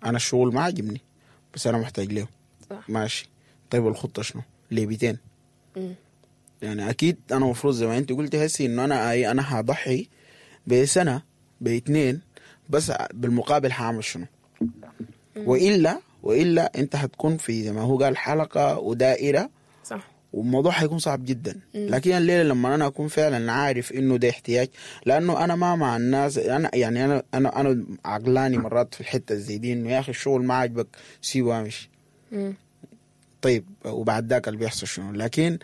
انا الشغل ما عاجبني بس انا محتاج له. صح. ماشي، طيب الخطة شنو؟ ليه 200؟ مم. يعني اكيد انا المفروض زي ما انت قلتي هسي انه انا اي انا هضحي بسنة باثنين، بس بالمقابل هعمل شنو؟ والا انت هتكون في زي ما هو قال حلقة ودائره. صح. والموضوع حيكون صعب جدا. لكن الليلة لما انا اكون فعلا عارف انه ده احتياج، لانه انا ما مع الناس، انا يعني انا عقلاني مرات في الحتة زي دي، انه يا اخي الشغل ما عاجبك سيبه وامشي. طيب وبعد ذاك اللي بيحصل شنو؟ لكن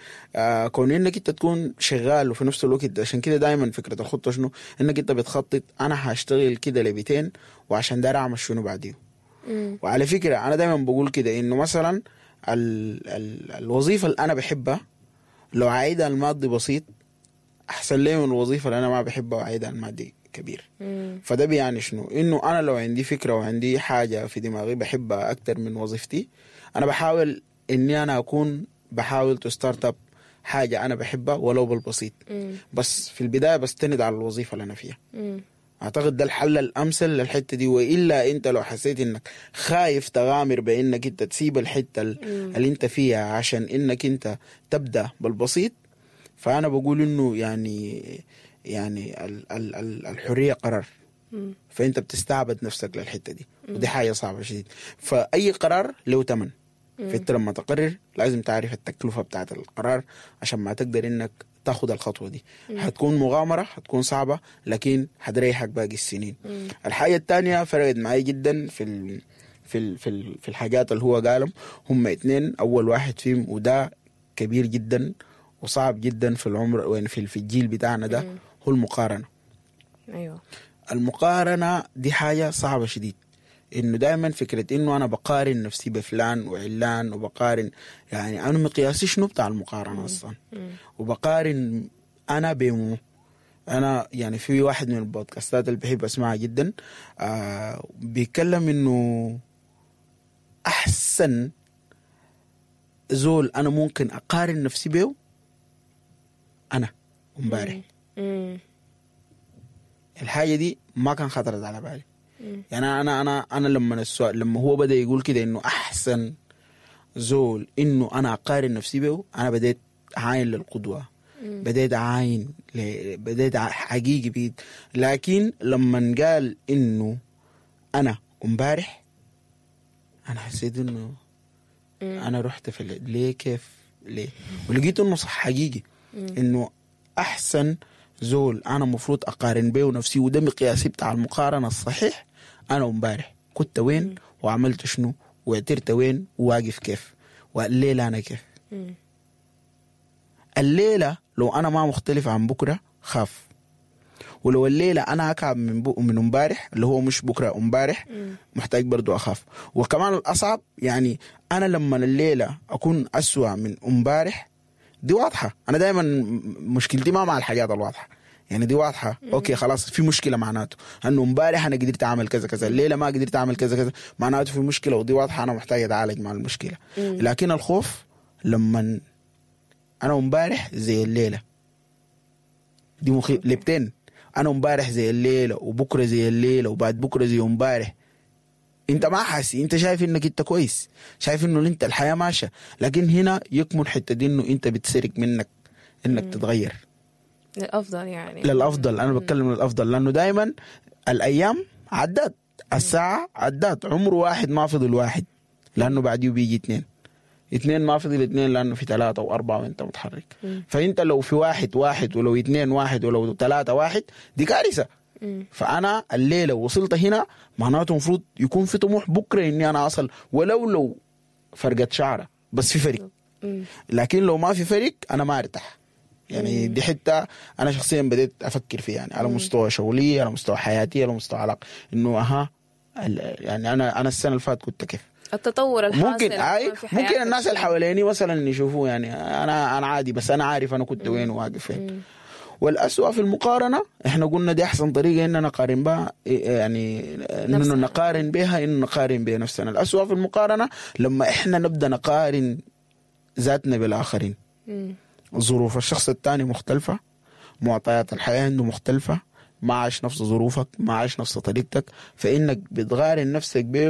كون انك انت تكون شغال وفي نفس الوقت، عشان كده دائما فكرة الخطة شنو؟ انك انت بتخطط انا هشتغل كده لبيتين وعشان داير اعمل شنو بعديه. وعلى فكرة انا دائما بقول كده انه مثلا ال ال الوظيفة اللي انا بحبها لو عايدها المادي بسيط احسن لي من الوظيفة اللي انا ما بحبها وعايدها المادي كبير. فده بيعني شنو؟ انه انا لو عندي فكرة وعندي حاجة في دماغي بحبها اكتر من وظيفتي، انا بحاول اني انا اكون بحاول to start up حاجة انا بحبها ولو بالبسيط. بس في البداية بستند على الوظيفة اللي انا فيها. اعتقد ده الحل الامثل للحتة دي. والا انت لو حسيت انك خايف تغامر بانك انت تسيب الحتة اللي انت فيها عشان انك انت تبدا بالبسيط، فانا بقول انه يعني ال ال ال الحرية قرار. فانت بتستعبد نفسك للحتة دي، ودي حاجة صعبة شديد. فاي قرار له ثمن، فانت لما تقرر لازم تعرف التكلفة بتاعت القرار عشان ما تقدر انك تاخد الخطوة دي. هتكون مغامرة، هتكون صعبة، لكن هتريحك باقي السنين. الحاجة الثانية فرقت معي جدا في الحاجات اللي هو قالهم، هم اتنين. اول واحد فيهم وده كبير جدا وصعب جدا في العمر وين في الجيل بتاعنا ده، هو المقارنة. المقارنة دي حاجة صعبة شديد، انه دائما فكرة انه انا بقارن نفسي بفلان وعلان وبقارن، يعني انا مقياسي شنو بتاع المقارنة اصلا؟ وبقارن انا بمو انا، يعني في واحد من البودكاستات اللي بحب اسمعها جدا بيتكلم انه احسن زول انا ممكن اقارن نفسي بيه انا امبارح. الحاجة دي ما كان خطرت على بالي. يعني انا لما السؤال، لما هو بدا يقول كده انه احسن زول انه انا اقارن نفسي به، انا بديت اعاين للقدوه، بديت اعاين بديت حقيقي بيت. لكن لما قال انه انا امبارح، انا حسيت انه انا رحت في ليه كيف ليه، ولقيت انه صح حقيقي انه احسن زول انا المفروض اقارن بيه نفسي، وده مقياسي بتاع المقارنة الصحيح، انا امبارح كنت وين وعملت شنو وعترت وين وواقف كيف والليلة انا كيف. الليلة لو انا ما مختلف عن بكره خاف، ولو الليلة انا اكعب من امبارح اللي هو مش بكره امبارح، محتاج برضو اخاف. وكمان الاصعب يعني انا لما الليلة اكون اسوأ من امبارح، دي واضحة. انا دائما مشكلتي ما مع الحاجات الواضحة، يعني دي واضحة. okay خلاص في مشكلة، معناته انه امبارح انا قدرت اعمل كذا كذا، الليلة ما قدرت اعمل كذا كذا، معناته في مشكلة، ودي واضحة انا محتاج اتعالج مع المشكلة. لكن الخوف لما انا امبارح زي الليلة دي مخيف لبتين، انا امبارح زي الليلة وبكره زي الليلة وبعد بكره زي امبارح. انت ما حاسي، انت شايف انك انت كويس، شايف انه انت الحياة ماشية، لكن هنا يكمن حتة دي انه انت بتسرق منك انك تتغير للافضل. يعني للافضل، انا بتكلم للافضل، لانه دائما الايام عدت، الساعة عدت، عمر واحد ما فضل واحد، لانه بعديه بيجي اثنين، اثنين ما فضل اثنين لانه في ثلاثة واربعة وانت متحرك. فانت لو في واحد واحد، ولو اثنين واحد، ولو ثلاثة واحد، دي كارثة. فانا الليلة وصلت هنا، معناته المفروض يكون في طموح بكره اني انا اصل ولو لو فرقه شعره، بس في فرق. لكن لو ما في فرق انا ما ارتاح. يعني دي حتة انا شخصيا بديت افكر فيها، يعني على مستوى شغلي، على مستوى حياتي، على مستوى علاقة، انه اها يعني انا السنة اللي فاتت كنت كيف، التطور الحاصل ممكن ممكن الناس اللي حواليني مثلا يشوفوه يعني انا عادي، بس انا عارف انا كنت وين وواقف فين. والأسوأ في المقارنة، احنا قلنا دي أحسن طريقة إننا نقارن بها، يعني إنه نقارن بها، إنه نقارن بها نفسنا. الأسوأ في المقارنة لما احنا نبدأ نقارن ذاتنا بالآخرين. ظروف الشخص الثاني مختلفة، معطيات الحياة عنده مختلفة، ما عاش نفس ظروفك، ما عاش نفس طريقتك، فإنك بتقارن نفسك به.